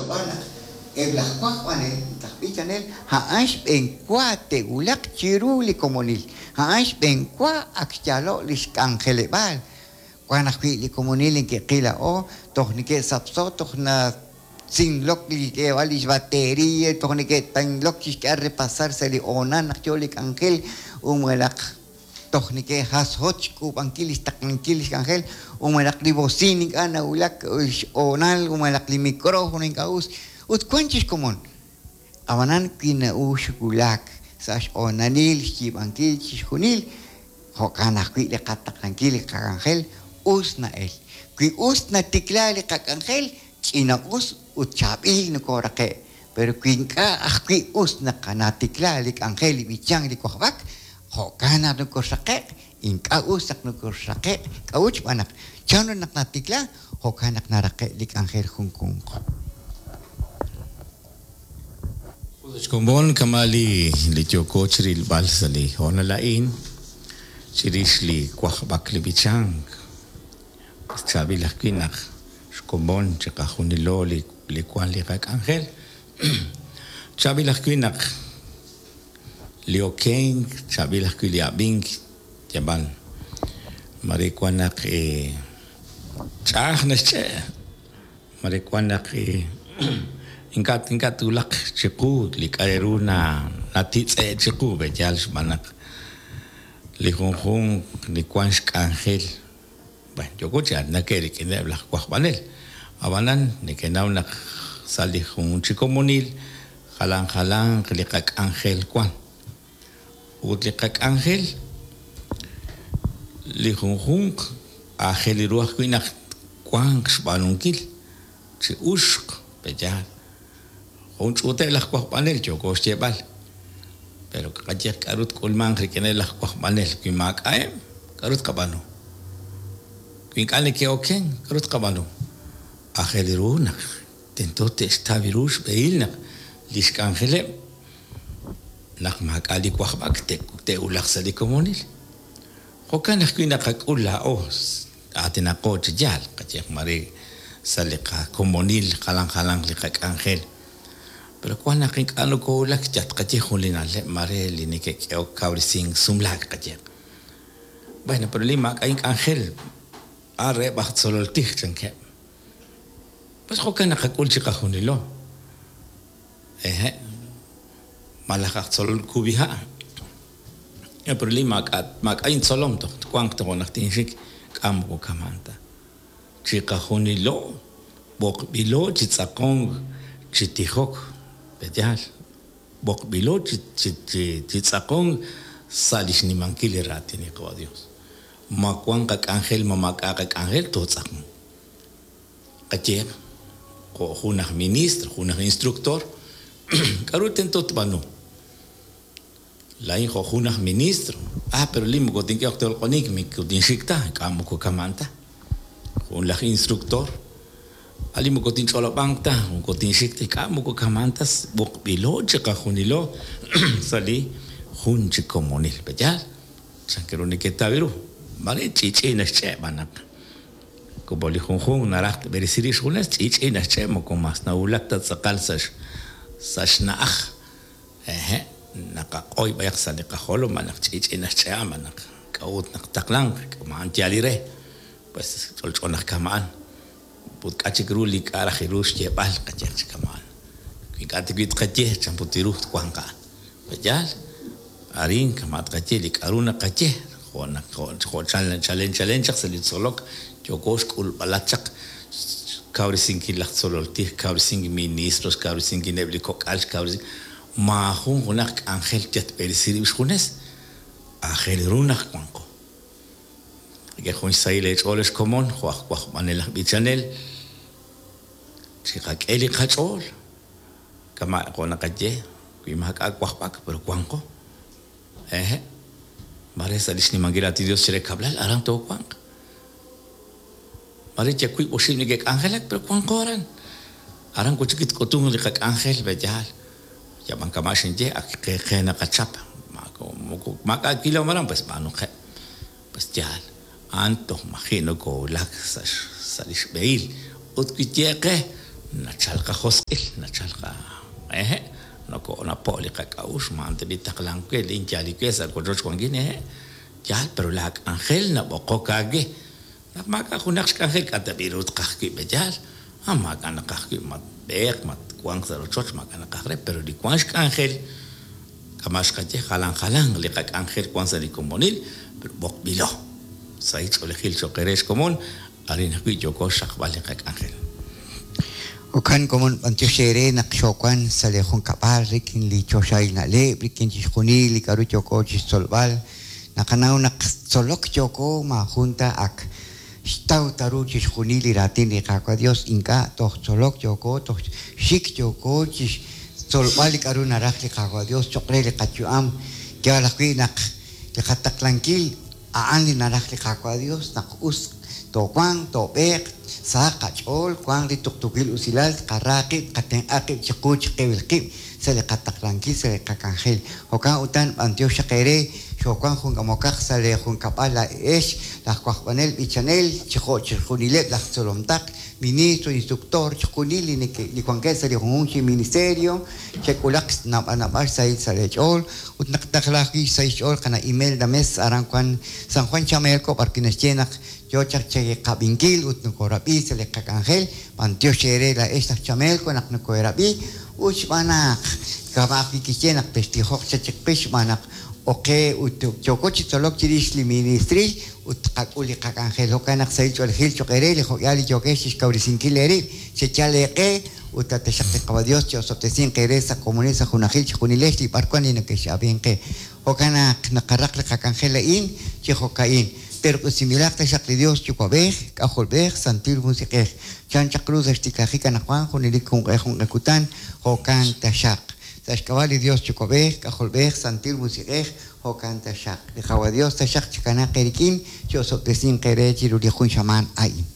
xch'olob'al naq eb' laj wajb'anel ut laj b'ichanel a'an xb'een wa te'wulaq chiru li komonil, a'an xb'een wa ak xyaalo' lix k'anjeleb'aal. Wan ajwi' li komonil neke'qil laa'o toj neke'sapso, toj natzinlok li xk'eeb'al lix batería, toj neke'tanlok chixk'eeb'al repasar sa' li hoonal naq yoo li k'anjel u malaj toj neke'jasjot xk'uub'ankil lix taqlankil lix k'anjel u malaj li bocina ink'a' nawulak xhoonal u malaj li micrófono ink'a' us ut wan chi xkomon. Ab'anan wi na'ux wulak sa' xhoonalil xyiib'ankil chixjunil, jo'kan ajwi' li qataqlankil li qak'anjel us na'el. Wi us natikla li qak'anjel, ch'ina us ut chaab'il nokooraqe'. Pero wi ink'a' ajwi' us naq natikla li k'anjel, li b'ichank, li wajb'ak, jo'kan naq nokoxraqe'q, ink'a' us naq nokoxraqe'q. K'a'ut? Xb'aan naq chanru naq natikla, jo'kan naq naraqe' li k'anjel junjunq. Ut xkomon kama' li li yooko chirilb'al sa' li hoonal a'in chirix li wajb'ak li b'ichank. Chaab'il ajwi' naq xkomon chiqajunilo li li wan li qak'anjel. Chaab'il ajwi' naq li okenk, chaab'il ajwi' li ab'ink, yab'al mare wan naq ch'a'aj naxch'e', mare wan naq ink'a' ink'a' twulaq chiqu li k'a' re ru na natitz'e' chiqu pe'yaal xb'aan naq li junjunq li wan xk'anjel. Bueno, yooko chi aatinak rik'ineb' laj wajb'anel. Ab'anan nekenaw naq sa' li jun chi komonil jalan jalanq li qak'anjel wan. Ut li qak'anjel li junjunq aajel ru ajwi' naq wanq xb'aanunkil chi uxq, pe'yaal. Jun ch'uuteb' laj wajb'anel yooko xyeeb'al. Pero qaye k'aru tk'ulmanq rik'ineb' laj wajb'anel wi maak'a'eb', k'aru tqab'aanu? Wi ink'a' neke'oken, k'aru tqab'aanu? Aajel ru naq tento te'xtaw ru xb'ehil naq li xk'anjeleb' naq maak'a' li wajb'ak te'wulaq sa' li komonil. Jo'kan ajwi' naqak'ul laa'o aatinaqo chi yaal, qayehaq mare sa' li qakomonil jalan jalanq li qak'anjel. Pero wan naq ink'a' nokowulak yal tqaye jun li na'leb' mare li neke'k'ehok kawresink sumlaak qayehaq. Bueno, pero li maak'a' ink'anjel a'an reheb' aj tzolol tij chankeb'. Pues jo'kan naqak'ul chiqajunilo. Hehe', malaj aj tzolol kub'iha'. Pero li maak'a' maak'a' intzolom toj twanq tojo' naq tinxik, k'a' moko kama'an ta. Chiqajunilo b'oqb'ilo chi tz'aqonk chi tijok, pe'yaal? B'oqb'ilo chi chi chi tz'aqonk sa' li xnimankil li raatin li Qawa' Dios. Ma wan qak'anjel ma maak'a' qak'anjel, tootz'aqonq. Qayehaq, jo' jun aj ministro, jun aj instructor, k'a'ru tento tb'aanu? Laa'in jo' jun aj ministro, ah, pero li moko tink'ehaq ta loq'onink, moko tinxik ta, ink'a' moko kama'an ta. Jun laj instructor, ah, li moko tinch'olob'anq ta, moko tinxik ta, ink'a' moko kama'an ta, b'oqb'ilo chiqajunilo sa' li jun chi komonil. Pe'yaal? Chan ru neketaw ru? Maare ch'i'ch'i' naxch'e' b'an naq como li junjunq naraj tb'eresi rib' xjunes, ch'i'ch'i' naxch'e' moko mas nawulak ta tz'aqal sa' sa' xna'aj. Hehe', naqaq'oy b'ayaq sa' li qajolom b'an naq ch'i'ch'i' naxch'e'a b'an naq k'a'ut naq taqlanq, kama'an yaal li re. Pues ch'olch'o naq kama'an. Ut k'a' chik ru li k'a' raj ru xyeeb'al qayehaq chi kama'an. Wi ink'a' ta wi' tqaye chan put ru twanq a'an. Pe'yaal? Arin kama' tqaye li k'a'ru naqaye, jo' naq jo' chalen chalen chaq sa' li tzolok yooko xk'ulb'alat chaq xkawresinkil laj tzolol tij, xkawresinkil ministro, xkawresinkileb' li kok'al, xkawresinkil maajun junaq k'anjel yal tb'eresi rib' xjunes, aajel ru naq wanqo. Rik'in jun xsahil eech'ool ex komon jo' aj wajb'anel aj b'ichanel, chiqak'e li qach'ool, kama' jo' naqaye, wi maak'a' wajb'ak, pero wanqo. Hehe', maare sa' li xnimankil raatin Dios chire kab'lal aran toowanq. Maare yal 2-5 neke'k'anjelak, pero wanqo aran. Aran wi' chik tk'utunq li qak'anjel, pe'yaal. Yab'an kama' xinye, ak qe qe naqachap. Moko maak'a' wilom aran, pues b'aanuqeb'. Pues yaal, a'an toj maji' nokowulak sa' sa' li xb'ehil. Ut wi tye qe Nachal qajosq'il, nachal qa ehe', noko'napo' li qak'a'uxl, ma a'an ta b'i' taqlank we, lin yaal li we sa' wochoch wankin, ehe', yaal, pero laa k'anjel nab'oqok aawe. Naq maak'a' junaq xk'anjel, k'a' ta b'i' ru tqaj wi' pe'yaal? Ah, maak'a' naqaj wi', matb'eeq, matwanq sa' rochoch, maak'a' naqaj re, pero li wank xk'anjel, kama' xqaye, jalan jalanq li qak'anjel wank sa' li komonil, pero b'oqb'ilo. Sahil ch'oolejil cho'q eere xkomon, arin ajwi' yooko xraqb'al li qak'anjel. Jo'kan komon b'antiox eere naq xoowan sa' lee junkab'al rik'in li choxahil na'leb', rik'in chixjunil li k'a'ru yooko chixtzolb'al. Naqanaw naq tzolok yooko maajun ta ak xtaw ta ru chixjunil li raatin li Qaawa' Dios, ink'a' toj tzolok yooko, toj xik yooko chixtzolb'al li k'a'ru naraj li Qaawa' Dios choq' re li qayu'am. Yaal ajwi' naq li qataqlankil a'an li naraj li Qaawa' Dios, naq us toowanq, toob'eeq, sahaq qach'ool, wanq li tuqtuukil usilal, tqara qib', tqatenq'a qib' chiqu chiqib'il qib' sa' li qataqlankil, sa' li qak'anjel. Jo'kan utan, b'antiox xaq eere, xoowank jun k'amokaq sa' lee junkab'al laa'ex, laj wajb'anel b'ichanel, chi jo' chixjunileb' laj tzolom taql, ministro, instructor, chixjunil li neke' li wankeb' sa' li junjunq chi ministerio, chek'ulaq naab'al naab'al xsahil sa' lee ch'ool, ut naq taqla ajwi' xsahil xch'ool qana' Imelda Mez aran wan San Juan Chamelco b'ar wi' naxye naq yoo chaq cheqab'inkil ut nokoorab'i sa' li qak'anjel, b'antiox eere laa'ex laj Chamelco naq nokoorab'i ut xb'aan naq kama' ajwi' kixye naq textijoq chaq chiqix xb'aan naq oqe ut yooko chi tzolok chirix li ministril ut tqak'ul li qak'anjel. Jo'kan naq sahil ch'oolejil cho'q eere li jo'k'ihal li yookex chixkawresinkil eerib', cheyal eeq'e ut taxaq li Qaawa' Dios chi'osob'tesinq eere sa' komonil sa' junajil chejunilex li b'arwan li nekex'ab'ink qe. Jo'kan naq naqaraq li qak'anjel a'in chi jo'ka'in, Terq'usinb'ilaq taxaq li Dios Yuwa'b'ej, K'ajolb'ej, Santil Musiq'ej, chan chaq ru sa' xtiklajik anaqwan junelik junq'e junq'e kutan, jo'kan taxaq. Sa' xk'ab'a' li Dios Yuwa'b'ej, K'ajolb'ej, Santil Musiq'ej, jo'kan taxaq. Li Qaawa' Dios taxaq chikanaaq eerik'in, chi'osob'tesinq eere chiru li jun xamaan a'in.